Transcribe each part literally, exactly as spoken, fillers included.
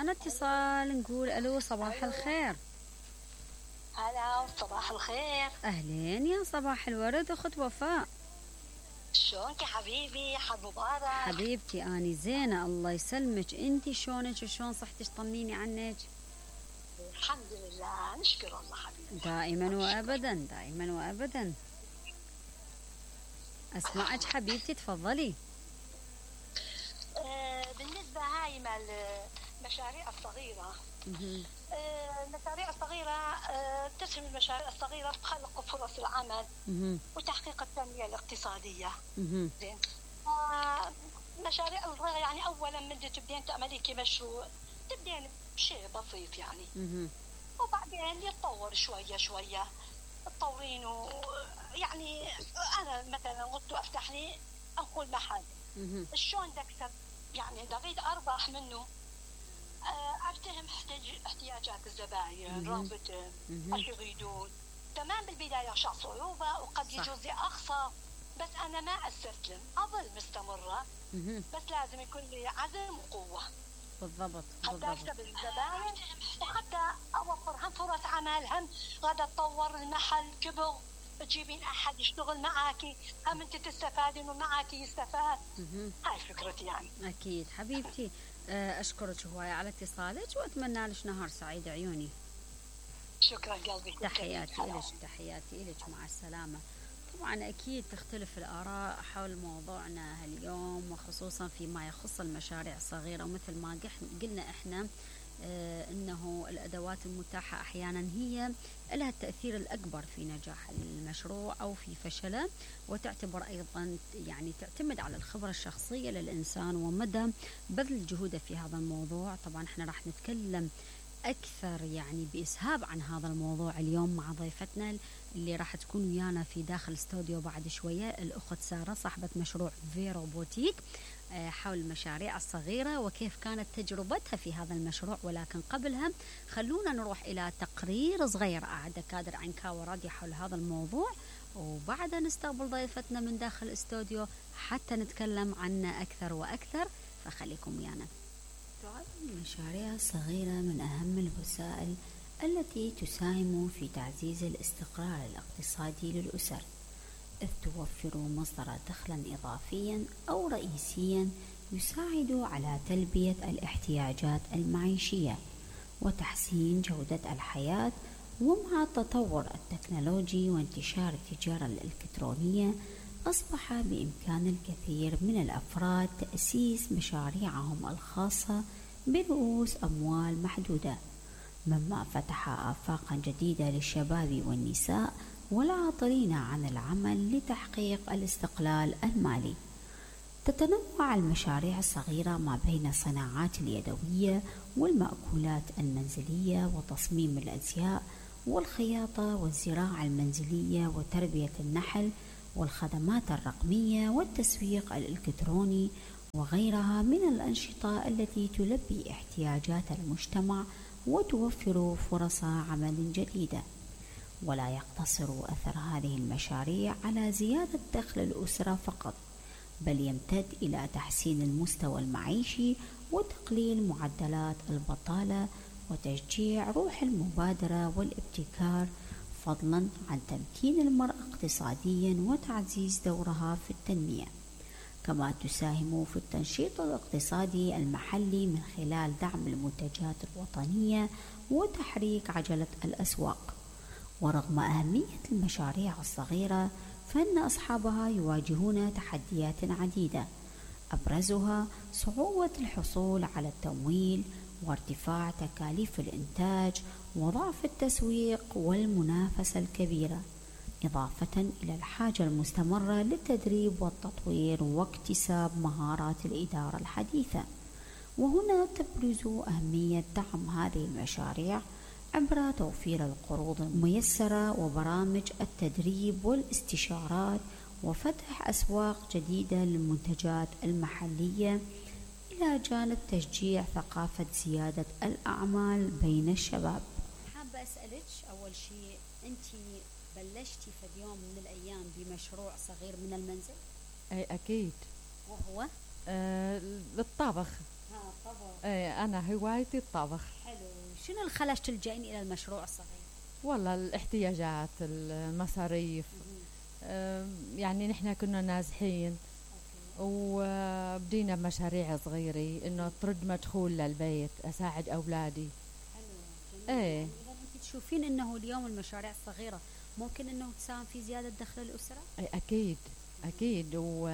معنا اتصال، نقول الو صباح الخير. هلا صباح الخير. اهلين يا صباح الورد اخت وفاء، شلونك يا حبيبي؟ حد مبارك. حبيبتي اني زينه الله يسلمك، انتي شلونك وشلون صحتك؟ طمنيني عنك. الحمد لله نشكر الله حبيبي. دائما وابدا دائما وابدا. اسمعك حبيبتي تفضلي. آه بالنسبه هاي مال المشاريع الصغيره، آه المشاريع الصغيره آه تسهم المشاريع الصغيره بخلق فرص العمل وتحقيق التنميه الاقتصاديه. زين. آه مشاريع الصغيره يعني اولا من تبدين تعملي مشروع تبدين بشيء بسيط يعني، وبعدين يتطور شويه شويه تطورينه. يعني انا مثلا قلت افتح لي انقل محل، شلون اكسب؟ يعني اريد اربح منه، افتهم احتياجات الزباين، رغبتهم، ايش يريدون. تمام بالبدايه شع صعوبه وقد يجوز لي اخسر، بس انا ما استسلم، اظل مستمره. بس لازم يكون لي عزم وقوه. بالضبط حتى اكسب الزباين وحتى اوفر هم فرص عمل، هم غدا تطور المحل كبر تجيبين احد يشتغل معاكي، هم انت تستفادين ومعاكي يستفاد. هاي فكرتي يعني. اكيد حبيبتي، اشكرك هوايه على اتصالك واتمنى لك نهار سعيد عيوني. شكرا قلبي. تحياتي لك تحياتي لك مع السلامه. طبعا أكيد تختلف الآراء حول موضوعنا اليوم، وخصوصا فيما يخص المشاريع الصغيرة. ومثل ما قلنا إحنا آه إنه الأدوات المتاحة أحيانا هي لها التأثير الأكبر في نجاح المشروع أو في فشله، وتعتبر أيضا يعني تعتمد على الخبرة الشخصية للإنسان ومدى بذل جهوده في هذا الموضوع. طبعا إحنا راح نتكلم أكثر يعني بإسهاب عن هذا الموضوع اليوم مع ضيفتنا اللي راح تكون ويانا في داخل استوديو بعد شوية، الأخت سارة صاحبة مشروع فيرو بوتيك حول المشاريع الصغيرة وكيف كانت تجربتها في هذا المشروع. ولكن قبلها خلونا نروح إلى تقرير صغير أعد كادر عن كاو راديو حول هذا الموضوع، وبعدها نستقبل ضيفتنا من داخل الاستوديو حتى نتكلم عنه أكثر وأكثر، فخليكم ويانا. تعد المشاريع الصغيرة من أهم الوسائل التي تساهم في تعزيز الاستقرار الاقتصادي للأسر، إذ توفر مصدر دخل إضافيا أو رئيسيا يساعد على تلبية الاحتياجات المعيشية وتحسين جودة الحياة. ومع التطور التكنولوجي وانتشار التجارة الإلكترونية أصبح بإمكان الكثير من الأفراد تأسيس مشاريعهم الخاصة برؤوس أموال محدودة، مما فتح آفاقا جديدة للشباب والنساء والعاطلين عن العمل لتحقيق الاستقلال المالي. تتنوع المشاريع الصغيرة ما بين الصناعات اليدوية والمأكولات المنزلية وتصميم الأزياء والخياطة والزراعة المنزلية وتربية النحل والخدمات الرقمية والتسويق الإلكتروني وغيرها من الأنشطة التي تلبي احتياجات المجتمع وتوفر فرص عمل جديدة. ولا يقتصر أثر هذه المشاريع على زيادة دخل الأسرة فقط، بل يمتد إلى تحسين المستوى المعيشي وتقليل معدلات البطالة وتشجيع روح المبادرة والابتكار، فضلا عن تمكين المرأة اقتصاديا وتعزيز دورها في التنمية. كما تساهم في التنشيط الاقتصادي المحلي من خلال دعم المنتجات الوطنية وتحريك عجلة الأسواق. ورغم أهمية المشاريع الصغيرة فإن أصحابها يواجهون تحديات عديدة، أبرزها صعوبة الحصول على التمويل وارتفاع تكاليف الإنتاج وضعف التسويق والمنافسة الكبيرة، إضافة إلى الحاجة المستمرة للتدريب والتطوير واكتساب مهارات الإدارة الحديثة. وهنا تبرز أهمية دعم هذه المشاريع عبر توفير القروض الميسرة وبرامج التدريب والاستشارات وفتح أسواق جديدة للمنتجات المحلية، إلى جانب تشجيع ثقافة زيادة الأعمال بين الشباب. حابة أسألك أول شيء، أنت بلشتي في يوم من الأيام بمشروع صغير من المنزل؟ أي أكيد. وهو؟ آه للطبخ. ها طبخ. ايه انا هوايتي الطبخ. حلو. شنو اللي خلاش تلجئين الى المشروع الصغير؟ والله الاحتياجات، المصاريف، آه يعني نحن كنا نازحين وبدينا بمشاريع صغيرة انه ترد مدخول للبيت، اساعد اولادي. حلو. ايه يعني اذا انت تشوفين انه اليوم المشاريع الصغيرة ممكن انه تساهم في زيادة دخل الاسرة؟ ايه اكيد اكيد. و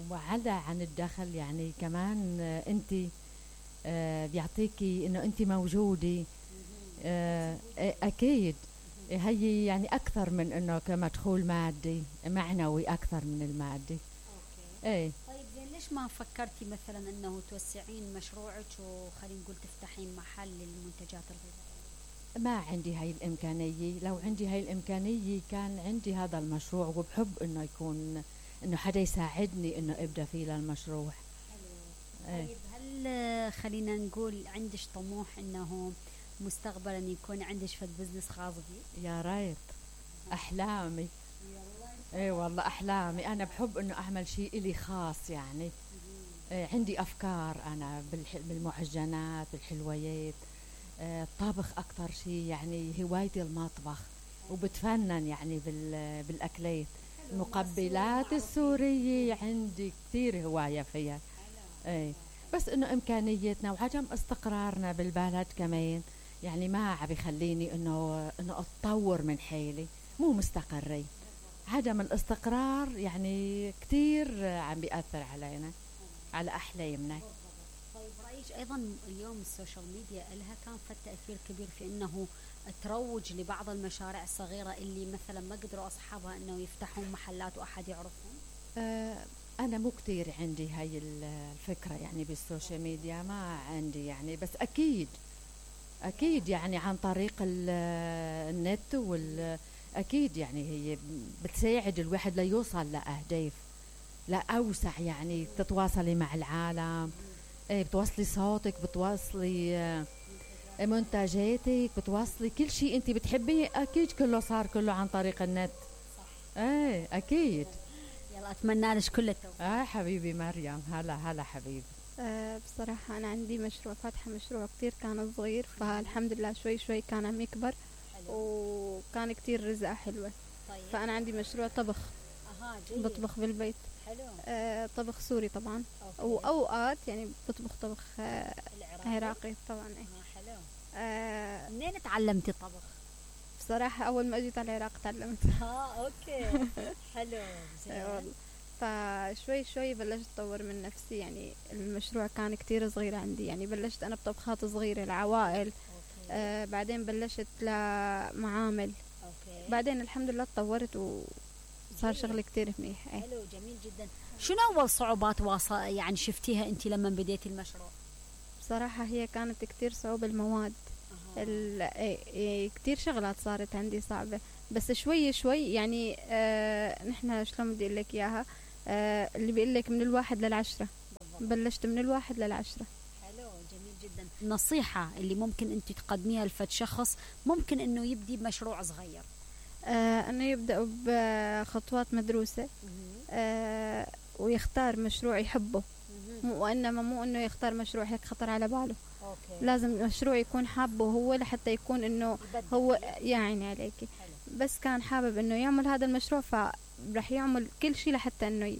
وعدا عن الدخل يعني كمان انت آه بيعطيكي انه انت موجودة. آه اكيد. هي يعني اكثر من انه كمدخول مادي، معنوي اكثر من المادي. ايه. طيب زين ليش ما فكرتي مثلا انه توسعين مشروعك وخلينا نقول تفتحين محل للمنتجات الغذائية؟ ما عندي هاي الامكانية. لو عندي هاي الامكانية كان عندي هذا المشروع، وبحب انه يكون انه حدا يساعدني انه ابدا فيه للمشروع. حلو. ايه. طيب هل خلينا نقول عندك طموح انه مستقبلا يكون عندك فد بزنس خاص بي؟ يا ريت. احلامي. اي والله احلامي. انا بحب انه اعمل شيء الي خاص يعني. إيه عندي افكار انا بالمعجنات بالحلويات. إيه طبخ اكثر شيء يعني هوايتي المطبخ، وبتفنن يعني بالاكلات. المقبلات السورية عندي كثير هواية فيها. اي بس انه امكانيتنا وعدم استقرارنا بالبلد كمان يعني ما عم بيخليني انه انه اتطور من حالي. مو مستقرين. عدم الاستقرار يعني كثير عم بيأثر علينا، على احلامنا. طيب رايك ايضا اليوم السوشيال ميديا لها كان فد تاثير كبير في انه تروج لبعض المشاريع الصغيره اللي مثلا ما قدروا اصحابها انه يفتحون محلات واحد يعرفهم؟ أه انا مو كثير عندي هاي الفكره يعني بالسوشيال ميديا، ما عندي يعني. بس اكيد اكيد يعني عن طريق النت وال اكيد يعني هي بتساعد الواحد ليوصل لاهداف لاوسع يعني. تتواصلي مع العالم، ايه بتوصلي صوتك، بتوصلي منتجاتك، بتوصلي كل شيء انت بتحبيه. اكيد كله صار كله عن طريق النت. صح. ايه اكيد. يلا اتمنى لك كل التوفيق. اه حبيبي مريم. هلا هلا حبيبي. أه بصراحة أنا عندي مشروع، فاتحة مشروع كتير كان صغير، فالحمد لله شوي شوي كان عم يكبر. حلو. وكان كتير رزقة حلوة. طيب. فأنا عندي مشروع طبخ. أها جيد. بطبخ بالبيت. حلو. أه طبخ سوري طبعا. أوكي. وأوقات يعني بطبخ طبخ أه عراقي طبعا. ايه. آه حلو. أه منين تعلمتي الطبخ؟ بصراحة أول ما أجيت على العراق تعلمت. ها أوكي. حلو. زين. فشوي شوي بلشت أطور من نفسي يعني. المشروع كان كتير صغير عندي يعني. بلشت أنا بطبخات صغيرة لعوائل. آه بعدين بلشت لمعامل. أوكي. بعدين الحمد لله تطورت وصار شغل كتير منيح. حلو جميل جدا. شنو أول صعوبات واصل يعني شفتيها أنت لما بديتي المشروع؟ بصراحة هي كانت كتير صعوبة المواد. كتير شغلات صارت عندي صعبة، بس شوي شوي يعني. آه نحن شلون بدي اقول لك اياها. آه اللي بيقول لك من الواحد للعشرة. بلشت من الواحد للعشرة. حلو جميل جدا. النصيحة اللي ممكن انت تقدميها لفد شخص ممكن انه يبدي بمشروع صغير؟ آه انه يبدأ بخطوات مدروسة. آه ويختار مشروع يحبه، وانما مو انه يختار مشروع هيك خطر على باله. أوكي. لازم المشروع يكون حابه هو لحتى يكون انه هو يعني عليكي. حلو. بس كان حابب انه يعمل هذا المشروع فرح يعمل كل شيء لحتى انه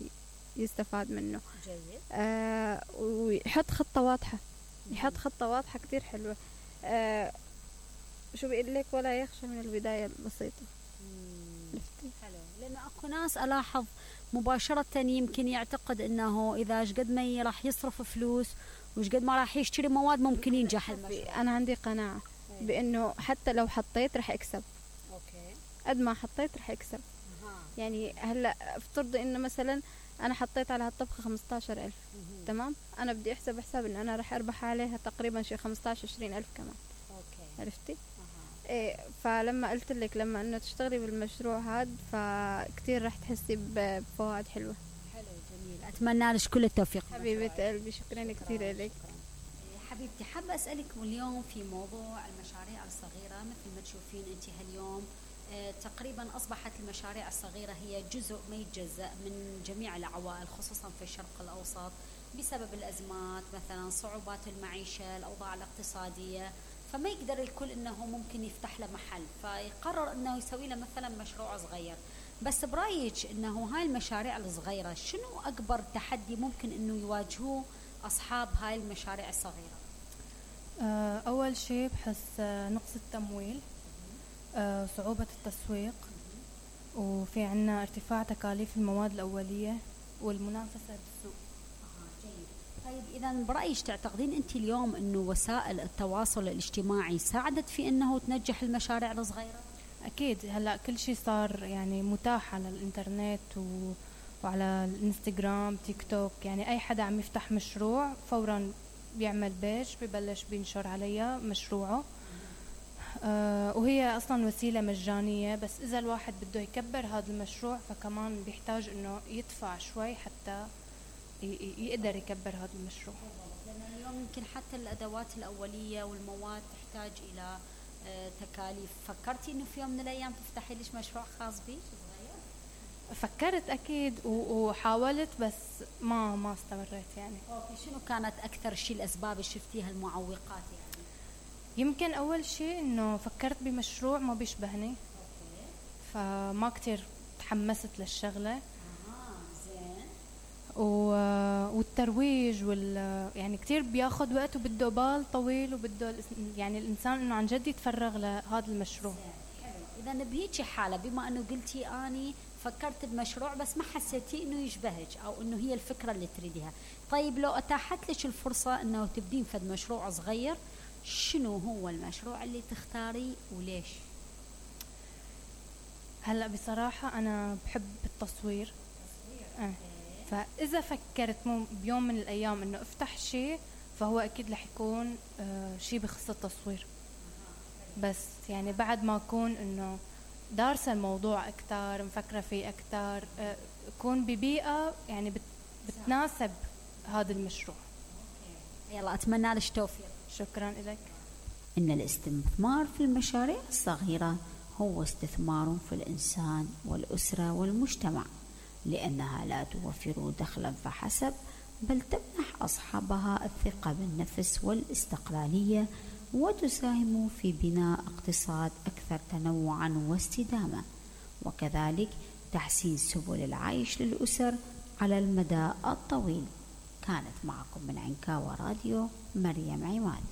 يستفاد منه. جيد. آه ويحط خطة واضحة. يحط خطة واضحة كتير حلوة. آه شو بيقول لك ولا يخشى من البداية البسيطة. حلو. لأنه أكو ناس ألاحظ مباشرة يمكن يعتقد أنه إذا قد ما راح يصرف فلوس وش قد ما راح يشتري مواد ممكن ينجح المشروع. أنا عندي قناعة بأنه حتى لو حطيت راح أكسب. أوكي. قد ما حطيت راح أكسب. يعني هلا افترضي إنه مثلا أنا حطيت على هالطبخة خمستاشر ألف. تمام. أنا بدي أحسب حساب إنه أنا راح أربح عليها تقريبا شي خمستاشر عشرين ألف كمان. أوكي. عرفتي؟ أه. إيه. فلما قلت لك لما إنه تشتغلي بالمشروع هاد فكتير راح تحسي بفوائد حلوة. حلو جميل. أتمنى لك كل التوفيق حبيبة قلبي. شكرا كتير لك حبيبتي. حابة أسألكم اليوم في موضوع المشاريع الصغيرة. مثل ما تشوفين أنت هاليوم آه تقريبا أصبحت المشاريع الصغيرة هي جزء ما يتجزأ من جميع العوائل خصوصا في الشرق الأوسط. بسبب الأزمات مثلا صعوبات المعيشة الأوضاع الاقتصادية، فما يقدر الكل أنه ممكن يفتح له محل، فيقرر أنه يسوي له مثلا مشروع صغير. بس برأيك أنه هاي المشاريع الصغيرة شنو أكبر تحدي ممكن أنه يواجهوه أصحاب هاي المشاريع الصغيرة؟ أول شيء بحس نقص التمويل، صعوبة التسويق، وفي عنا ارتفاع تكاليف المواد الأولية والمنافسة بالسوق. طيب إذا برأيك تعتقدين أنت اليوم أنه وسائل التواصل الاجتماعي ساعدت في أنه تنجح المشاريع الصغيرة؟ أكيد، هلأ كل شيء صار يعني متاح على الإنترنت و... وعلى الانستغرام تيك توك، يعني أي حدا عم يفتح مشروع فورا بيعمل بيج ببلش بينشر عليها مشروعه. آه وهي أصلا وسيلة مجانية، بس إذا الواحد بده يكبر هذا المشروع فكمان بيحتاج أنه يدفع شوي حتى يقدر يكبر هذا المشروع. لأن اليوم يمكن حتى الأدوات الأولية والمواد تحتاج إلى تكاليف. فكرتي إنه في يوم من الأيام تفتحي ليش مشروع خاص بيك صغير؟ فكرت أكيد وحاولت بس ما ما استمريت يعني. أوكي، شنو كانت أكثر شيء الأسباب اللي شفتيها المعوقات يعني؟ يمكن أول شيء إنه فكرت بمشروع ما بيشبهني. أوكي. فما كتير تحمست للشغلة. والترويج وال يعني كتير بياخد وقت وبده بال طويل وبده يعني الإنسان إنه عن جد يتفرغ لهذا المشروع. إذا بهيك حالة بما إنه قلتي أني فكرت بمشروع بس ما حسيتي إنه يشبهك أو إنه هي الفكرة اللي تريديها، طيب لو أتاحت لك الفرصة إنه تبدين فد مشروع صغير، شنو هو المشروع اللي تختاريه وليش؟ هلأ بصراحة أنا بحب التصوير. أه. فإذا فكرت بيوم من الأيام إنه أفتح شيء فهو أكيد رح يكون آه شيء بخص التصوير، بس يعني بعد ما أكون إنه دارسة الموضوع أكتر مفكرة فيه أكتر، آه أكون ببيئة يعني بت بتناسب هذا المشروع. يلا أتمنى لك توفيق. شكرا لك. إن الاستثمار في المشاريع الصغيرة هو استثمار في الإنسان والأسرة والمجتمع، لأنها لا توفر دخلا فحسب، بل تمنح أصحابها الثقة بالنفس والاستقلالية، وتساهم في بناء اقتصاد أكثر تنوعا واستدامة، وكذلك تحسين سبل العيش للأسر على المدى الطويل. كانت معكم من عنكاوى راديو مريم عماد.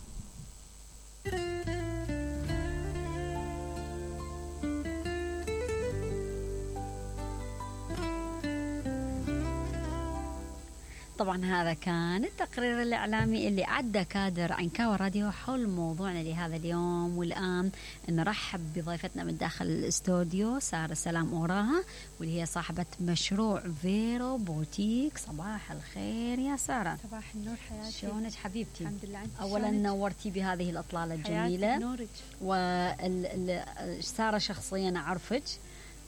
طبعا هذا كان التقرير الإعلامي اللي عدى كادر عنكاوى راديو حول موضوعنا لهذا اليوم. والآن نرحب بضيفتنا من داخل الاستوديو سارة سلام أوراها، واللي هي صاحبة مشروع فيرو بوتيك. صباح الخير يا سارة. صباح النور حياتي. شلونك حبيبتي؟ الحمد لله. أولا نورتي بهذه الأطلالة الجميلة. نورك. وسارة شخصيا أعرفك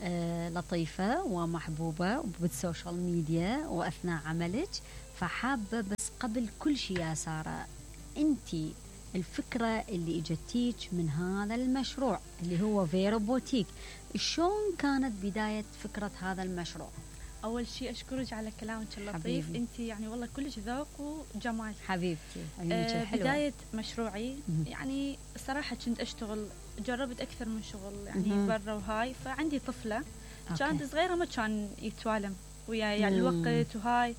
آه لطيفة ومحبوبة بالسوشيال ميديا وأثناء عملك، فحابة بس قبل كل شيء يا سارة، أنتي الفكرة اللي اجتيك من هذا المشروع اللي هو فيرو بوتيك، شلون كانت بداية فكرة هذا المشروع؟ أول شيء أشكرك على كلامك اللطيف، أنت يعني والله كلش ذوق وجمال حبيبتي. آه بداية مشروعي يعني صراحة كنت أشتغل، جربت أكثر من شغل يعني برا وهاي، فعندي طفلة أوكي. كانت صغيرة ما كان يتوالم وياي يعني الوقت وهاي،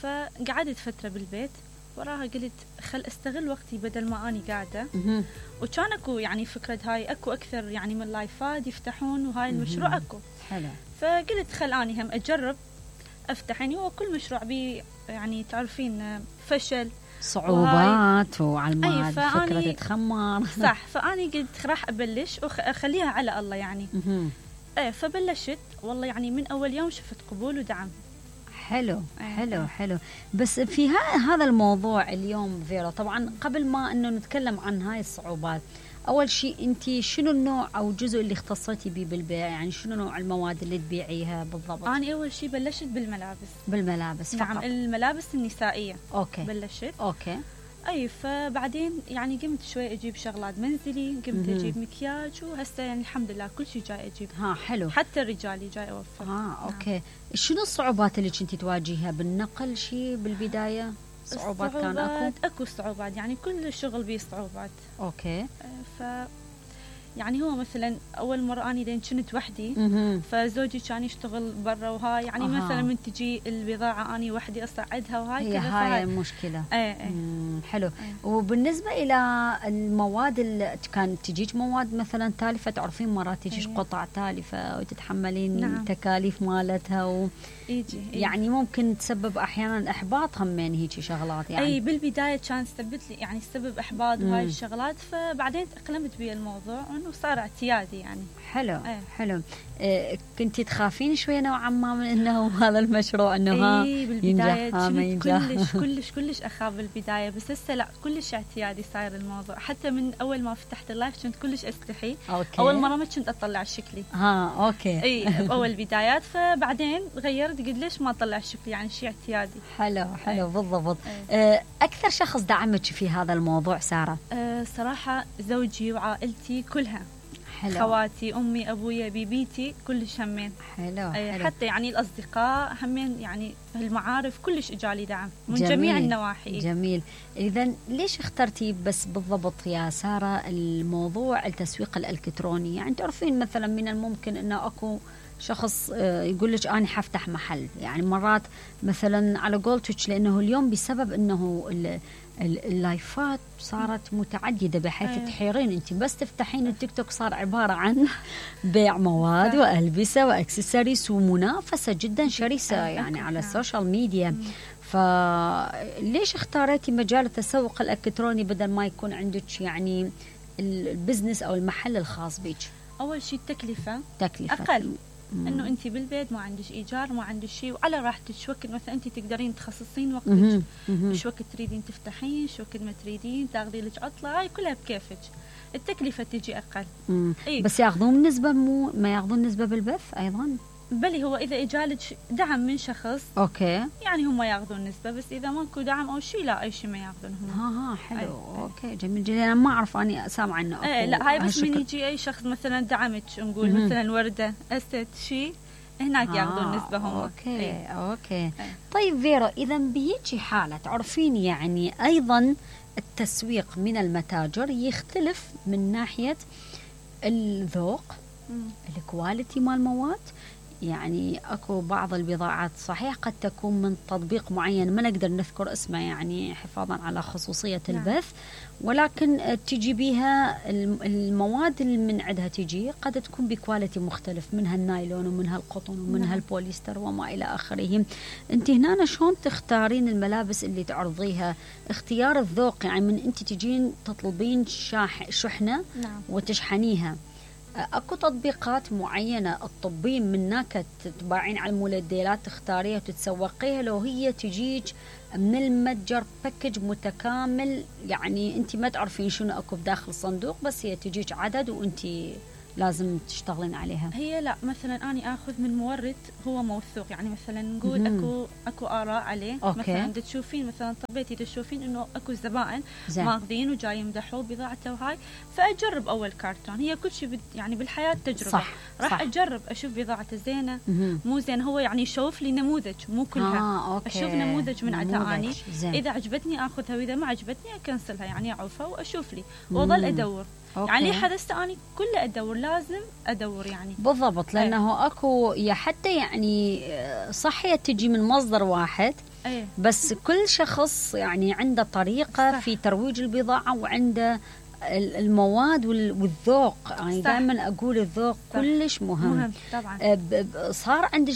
فقعدت فترة بالبيت، وراها قلت خل استغل وقتي بدل ما أني قاعدة. وكان اكو يعني فكرة هاي اكو أكثر يعني من لايفات يفتحون وهاي المشروع اكو حلو، فقلت خل أني هم أجرب أفتح. يعني هو كل مشروع بي يعني تعرفين فشل صعوبات وعلى ما فكرة تتخمر صح، فأني قلت راح أبلش وأخليها على الله يعني. ايه فبلشت والله يعني من أول يوم شفت قبول ودعم. حلو حلو حلو. بس في هذا الموضوع اليوم فيرو، طبعا قبل ما انه نتكلم عن هاي الصعوبات، اول شيء انت شنو النوع او الجزء اللي اختصيتي به بالبيع؟ يعني شنو نوع المواد اللي تبيعيها بالضبط؟ انا اول شيء بلشت بالملابس. بالملابس نعم فقط. الملابس النسائيه اوكي بلشت اوكي اي فبعدين يعني قمت شوي اجيب شغلات منزلي، قمت اجيب مكياج، وهسه يعني الحمد لله كل شيء جاي اجيب. ها حلو. حتى الرجالي جاي اوفر. اه اوكي. نعم. شنو الصعوبات اللي كنتي تواجهها بالنقل شيء بالبدايه؟ صعوبات كان اكو؟ اكو صعوبات، يعني كل الشغل بيه صعوبات. اوكي. ف يعني هو مثلا اول مره اني لين كنت وحدي، فزوجي كان يشتغل برا وهاي، يعني آه. مثلا من تجي البضاعه اني وحدي اصعدها وهاي هي هاي المشكله. ايه ايه. حلو. ايه. وبالنسبه الى المواد اللي كانت تجيك مواد مثلا تالفه، تعرفين مرات تجيش ايه. قطع تالفه وتتحملين نعم. تكاليف مالتها و يجي يعني ممكن تسبب احيانا احباط همين هيك شغلات يعني. اي بالبدايه كان سبب لي يعني سبب احباط وهاي الشغلات، فبعدين تاقلمت بيه الموضوع انه صار اعتيادي يعني. حلو. ايه. حلو. إيه كنتي تخافين شويه نوعا ما من انه هذا المشروع انه ها اي بالبدايه كنت كلش كلش كلش اخاف بالبدايه، بس هسه لا كلش اعتيادي صاير الموضوع. حتى من اول ما فتحت اللايف كنت كلش استحي. أوكي. اول مره ما كنت اطلع شكلي. ها اوكي. اي باول بدايات، فبعدين غيرت قلت ليش ما اطلع شكلي، يعني شيء اعتيادي. حلو حلو. أي. بالضبط. أي. اكثر شخص دعمك في هذا الموضوع ساره؟ أه صراحه زوجي وعائلتي كلها. حلو. خواتي، امي، ابويا، بيبيتي، كلش همين. حلو. حلو. حتى يعني الاصدقاء همين، يعني المعارف كلش اجالي دعم من جميل. جميع النواحي. جميل. اذا ليش اخترتي بس بالضبط يا ساره الموضوع التسويق الالكتروني؟ يعني تعرفين مثلا من الممكن انه اكو شخص يقول لك انا حفتح محل، يعني مرات مثلا على قولتك، لانه اليوم بسبب انه اللايفات صارت متعدده بحيث أيه. تحيرين انت بس تفتحين التيك توك صار عباره عن بيع مواد أيه. والبسه واكسسوارز ومنافسه جدا شرسه أيه. يعني على السوشيال ميديا. فليش اختاريتي مجال التسوق الالكتروني بدل ما يكون عندك يعني البزنس او المحل الخاص بك؟ اول شيء التكلفه تكلفه اقل، انه انت بالبيت ما عندك ايجار، ما عندك شيء، وعلى راحتك. شو وقت مثلا انت تقدرين تخصصين وقتك، شو وقت تريدين تفتحين، شو وقت ما تريدين تاخذي لك عطله، هاي كلها بكيفك. التكلفه تجي اقل. إيه؟ بس ياخذون نسبه، مو ما ياخذون نسبه بالبث ايضا؟ بلي هو اذا اجالك دعم من شخص اوكي يعني هم ياخذون نسبه، بس اذا ماكو دعم او شيء لا اي شيء ما ياخذون هم. ها ها حلو. أي. اوكي جميل جدا. انا ما اعرف، اني سامعه انه ايه لا هاي بس من يجي اي شخص مثلا دعمك، نقول مم. مثلا ورده اسد شيء هناك ياخذون نسبه هم. اوكي ايه. اوكي ايه. طيب فيرا، اذا بهيجي حاله تعرفين يعني ايضا التسويق من المتاجر يختلف من ناحيه الذوق، الكواليتي مال المواد. يعني اكو بعض البضاعات صحيح قد تكون من تطبيق معين ما نقدر نذكر اسمه يعني حفاظا على خصوصية البث، نعم. ولكن تجي بها المواد اللي من عندها تجي قد تكون بكواليتي مختلف، منها النايلون ومنها القطن ومنها نعم. البوليستر وما إلى آخره. انت هنا شلون تختارين الملابس اللي تعرضيها؟ اختيار الذوق، يعني من انت تجين تطلبين شاح شحنة نعم. وتشحنيها، اكو تطبيقات معينه تطبين منك تتباعين على المولديلات تختاريها وتتسوقيها، لو هي تجيك من المتجر باكج متكامل، يعني انت ما تعرفين شنو اكو بداخل الصندوق، بس هي تجيك عدد وانت لازم تشتغلين عليها. هي لا مثلا اني اخذ من مورد هو موثوق، يعني مثلا نقول مم. اكو اكو اراء عليه. أوكي. مثلا تشوفين مثلا طبيتي تشوفين انه اكو زبائن ماخذين وجاي يمدحوا بضاعته وهاي، فاجرب اول كارتون. هي كل شيء بد يعني بالحياه تجربه. صح. راح صح. اجرب اشوف بضاعته زينه مم. مو زين، هو يعني يشوف لي نموذج مو كلها. آه، أوكي. اشوف نموذج من عندها اني زين. اذا عجبتني اخذها واذا ما عجبتني اكنسلها، يعني اعوفها واشوف لي واظل ادور. أوكي. يعني حدثت اني كله ادور، لازم ادور يعني بالضبط، لانه أي. اكو يا حتى يعني صحيه تجي من مصدر واحد. أي. بس كل شخص يعني عنده طريقه صح. في ترويج البضاعه وعنده المواد والذوق، يعني دائما اقول الذوق صح. كلش مهم. مهم طبعا. صار عندك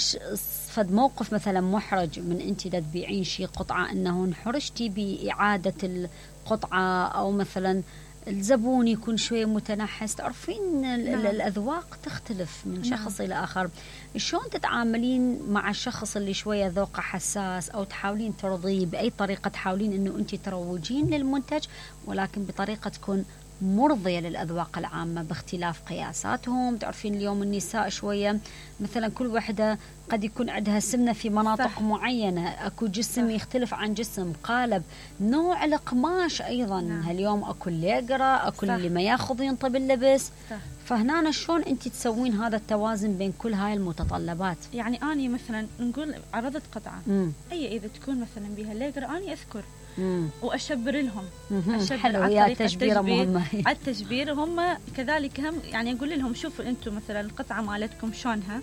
فد موقف مثلا محرج من انت تبيعين شيء قطعه انه انحرجتي باعاده القطعه، او مثلا الزبون يكون شوية متنحس؟ تعرفين نعم. الأذواق تختلف من شخص نعم. إلى آخر. شلون تتعاملين مع الشخص اللي شوية ذوقه حساس، أو تحاولين ترضيه بأي طريقة، تحاولين أنه أنت تروجين للمنتج ولكن بطريقة تكون مرضية للأذواق العامة باختلاف قياساتهم. تعرفين اليوم النساء شوية مثلا كل واحدة قد يكون عندها سمنة في مناطق صح. معينة، أكو جسم صح. يختلف عن جسم، قالب، نوع القماش أيضا نعم. هاليوم أكو اللي يقرأ، أكو اللي ما ياخذ ينطب اللبس صح. فهنا شلون أنت تسوين هذا التوازن بين كل هاي المتطلبات؟ يعني أني مثلا نقول عرضت قطعة مم. أي إذا تكون مثلا بها ليقرأ أني أذكر مم. وأشبر لهم أشبر حلو يا تشبيرة مهمة على التشبير. هم كذلك هم يعني أقول لهم شوفوا أنتم مثلا القطعة مالتكم شلونها،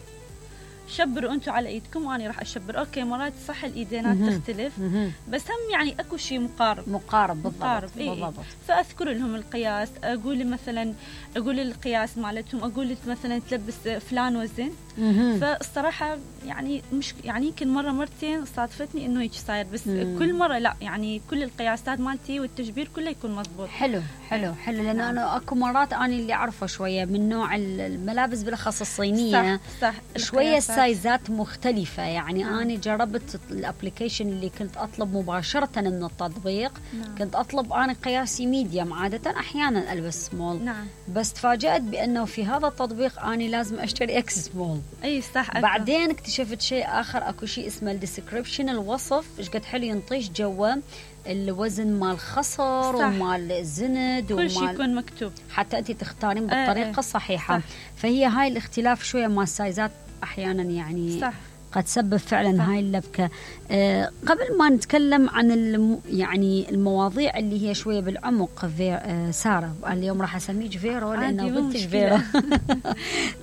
شبروا أنتم على إيدكم وأنا راح أشبر. أوكي مرات صح الإيدينات تختلف مم. بس هم يعني أكو شيء مقارب مقارب بالضبط, مقارب. إيه بالضبط. فأذكر لهم القياس، أقول مثلا أقول القياس مالتهم، أقول مثلا تلبس فلان وزن. فالصراحة يعني مش يعني يمكن مرة مرتين صادفتني إنه هيك صاير، بس مم. كل مرة لا يعني كل القياسات مالتي والتشبير كله يكون مضبوط. حلو حلو حلو لأن نعم. أنا أكو مرات أنا اللي أعرفه شوية من نوع الملابس بالأخص الصينية صح, صح. شوية السايزات مختلفة. يعني نعم. أنا جربت الابليكيشن اللي كنت أطلب مباشرة من التطبيق نعم. كنت أطلب أنا قياسي ميديم، عادة أحيانا ألبس سمول نعم. بس تفاجأت بأنه في هذا التطبيق أنا لازم أشتري إكس سمول. أي صح أكو. بعدين اكتشفت شيء آخر، أكو شيء اسمه الديسكريبشن، الوصف إيش قد حلو ينطيش جوا الوزن مال الخصر ومال الزند كل شيء يكون مكتوب حتى أنت تختارين بالطريقة آه الصحيحة صح. فهي هاي الاختلاف شوية مال السايزات أحيانا يعني صح. قد تسبب فعلا صح. هاي اللبكة. آه قبل ما نتكلم عن الم يعني المواضيع اللي هي شوية بالعمق فير آه سارة، اليوم راح أسميك فيرو لأنه بنتش فيرو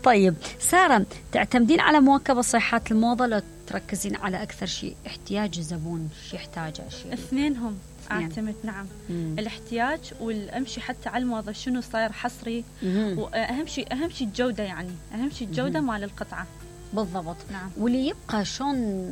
طيب سارة، تعتمدين على مواكبة صيحات الموضة لو تركزين على أكثر شيء احتياج الزبون، شيء يحتاجه شيء؟ اثنينهم أعتمد نعم مم. الاحتياج والأمشي حتى على الموضة شنو صاير حصري مم. وأهم شيء أهم شيء الجودة، يعني أهم شيء الجودة مال القطعة بالضبط نعم. واللي يبقى شلون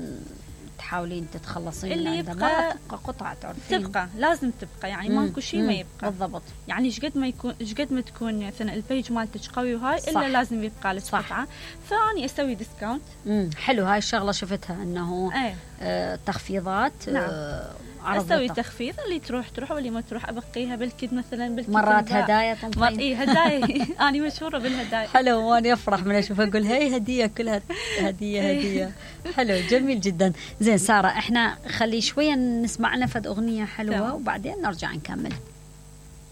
تحاولين تتخلصين اللي يبقى ما تبقى قطعة تعرفين تبقى لازم تبقى يعني ماكو شيء ما يبقى بالضبط. يعني ايش قد ما يكون ايش قد ما تكون مثلا البيج مالتك قوي وهاي صح. الا لازم يبقى لك قطعة، فاني اسوي ديسكاونت. امم حلو هاي الشغلة شفتها انه ايه. آه تخفيضات نعم. آه اسوي تخفيض، اللي تروح تروح واللي ما تروح ابقيها بالكد مثلا بالكد مرات هدايا تنطين اي هدايا انا مشهوره بالهدايا. حلو وانا افرح من اشوف اقول هي هديه كلها هديه هديه حلو جميل جدا. زين ساره احنا خلي شويه نسمع لنا فد اغنيه حلوه وبعدين نرجع نكمل.